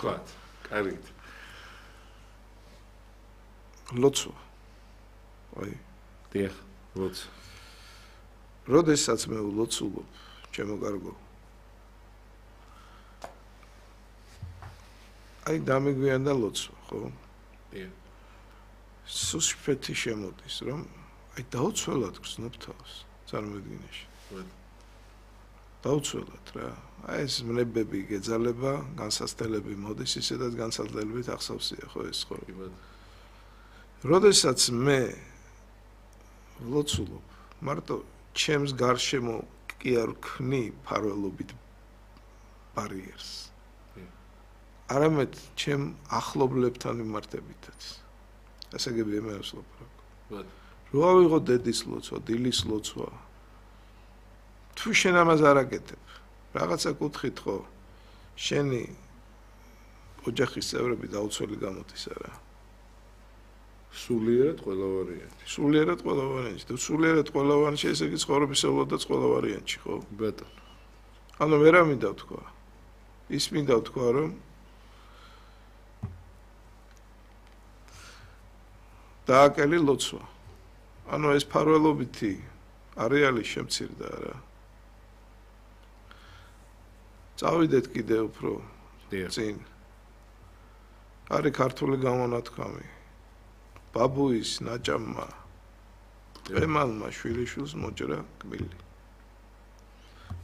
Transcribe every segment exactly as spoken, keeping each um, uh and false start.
თქვათ. კარგით. ლოცვა. აი, დიახ, ლოცვა. როდესაც მე ვლოცულობ, ჩემო კარგო. აი, დამიგვიანდა ლოცვა, ხო? დიახ. სუსტფეთი შემოდის, რომ აი დაუცველად გრძნობ თავს წარმოედგინეში. დაუცველად რა. აი ეს მლებები გეძალება, განსაცდელები მოდის, ისედაც განსაცდელებით ახსოვსია ხო ეს ხო. როდესაც მე ვლოცულობ, მარტო ჩემს გარშემო კი არ ვქნი ფარველობით ბარიერს. არამედ ჩემ ახლობლებთან მიმართებითაც. ასე გები მე ვსლობ. რო ავიღო დედის ლოცვა, დილის ლოცვა. თუ შენ ამას არ აკეთებ, რაღაცა კუთხით ხო, შენი ოჯახის წევრები დაუცველი გამოდის არა. სულიერად ყველა ვარიანტი. სულიერად ყველა ვარიანტი. თუ სულიერად ყველა ვარიანტი, ესე იგი ცხოვრებისეულოდაც ყველა ვარიანტი ხო? ბატონო. ანუ მე რა მინდა ვთქვა? ის მინდა ვთქვა, რომ დააკელი ლოცვა. ანუ ეს ფარველობითი არეალი შემცირდა რა. წავიდეთ კიდე უფრო წინ. არის ქართული გამონათქვამი. ბაბუის ნაჭამმა ემალმა შვილიშვილს მოჭრა კბილი.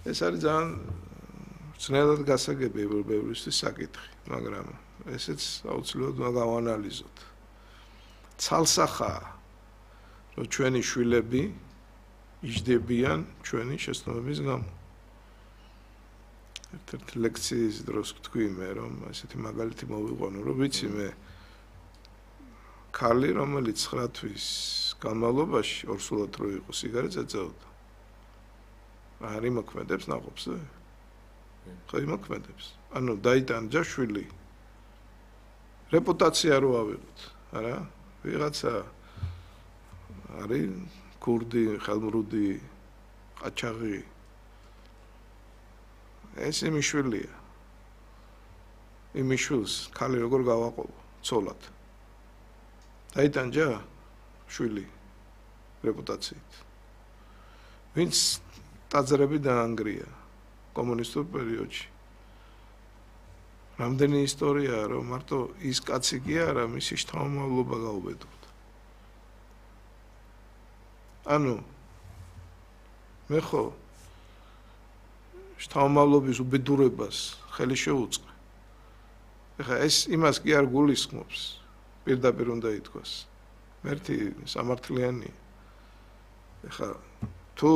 ეს არის ძალიან ძნელად გასაგები ევროპელისთვის საკითხი, მაგრამ ესეც აუცილებლად უნდა გავანალიზოთ. ცალსახაა, რომ ჩვენი შვილები იჯდებიან ჩვენი შეცდომების გამო. ერთ-ერთი ლექციის დროს ვთქვი მე, რომ ესეთი მაგალითი მოვიყვანო, რომ ვიცი მე ქალი, რომელიც ცხრა თვის განმავლობაში ორსულად რო იყო სიგარეტს ეწეოდა. არ იმოქმედებს ნაყოფზე? ხო იმოქმედებს. ანუ დაიტანჯა შვილი. რეპუტაცია რო ავიღოთ, არა? ვიღაცა არის კურდი, ხელმრუდი, ყაჩაღი. ეს იმის შვილია. იმის შვილს ქალი როგორ გავაყოლო? ცოლად. დაიტანჯა შვილი რეპუტაციით. ვინც ტაძრები დაანგრია კომუნისტურ პერიოდში. რამდენი ისტორიაა, რომ მარტო ის კაცი კი არა, მისი შთამომავლობა გაუბედურდა. ანუ მე ხო შთამომავლობის უბედურებას ხელი შეუწყე. ეხლა ეს იმას კი არ გულისხმობს. პირდაპირ უნდა ითქვას. მერტი სამართლიანი. ეხლა თუ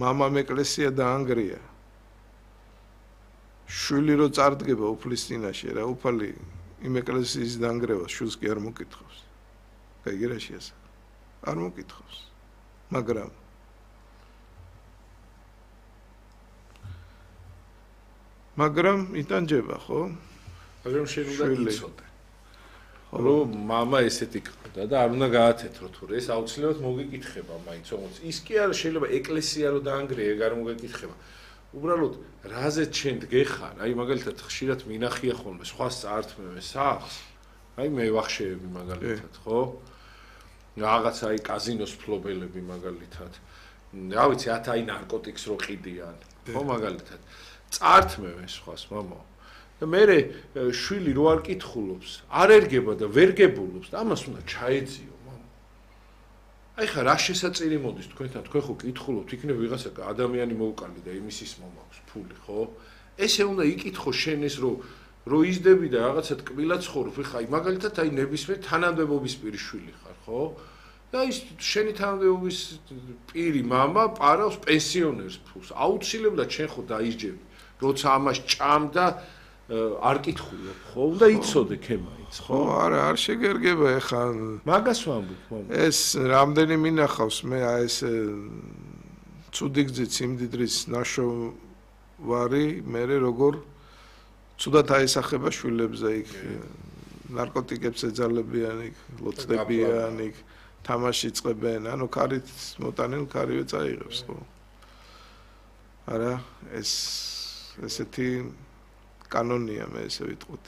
მამამ ეკლესია დაანგრია. შვილი რო წარდგება უფლის წინაშე რა, უფალი იმ ეკლესიის დაანგრევას შვილს კი არ მოკითხავს. კაი რაში ასე? არ მოკითხავს. მაგრამ მაგრამ იტანჯება ხო? მაგრამ შენ უნდა იცოდე. რომ мама ესეთი ყდა და არ უნდა გაათეთრო თუ ეს აუცილებლად მოგეკითხება მაინც όμως ის კი არა შეიძლება ეკლესია რო დაანგრია ეგ არ მოგეკითხება უბრალოდ რაზე ჩვენ დგეხარ აი მაგალითად ხშირად მინახია ხოლმე სხვა წართმევე სახს აი მე ვახშეები მაგალითად ხო რაღაცა აი კაზინოს ფლობელები მაგალითად რა ვიცი ათ აი ნარკოტიკს რო ყიდიან ხო მაგალითად წართმევე სხვას მამა და მე შვილი რო არ კითხულობს, არ ერგება და ვერ გებულობს და ამას უნდა ჩაეძიო, მამა. აი ხა რა შესაწირი მოდის თქვენთან, თქვენ ხო კითხულობთ, იქნებ ვიღაცა ადამიანი მოუკალი და იმის ის მომაქვს ფული, ხო? ესე უნდა იკითხო შენ ეს რო რო იზდები და რაღაცა ტკბილა ცხოვრობ, ხა აი მაგალითად აი ნებისმიერ თანამდებობის პირი შვილი ხარ, ხო? და ის შენი თანამდებობის პირი მამა პარავს პენსიონერს ფულს. აუცილებლად შენ ხო დაიჯები, როცა ამას ჭამდა არ კითხულობ ხო უნდა იცოდე ქემაიც ხო არა არ შეგერგება ეხა მაგას ვამბობ მამა ეს რამდენი მინახავს მე აი ეს ცუდი გზით სიმდიდრის ნაშოვარი მე როგორ ცუდად აისახება შვილებზე იქ ნარკოტიკებს ეძალებიან იქ ლოცდებიან იქ თამაში წებენ ანუ ქარით მოტანილ ქარივე წაიღებს ხო არა ეს ესეთი კანონია მე ესე ვიტყვით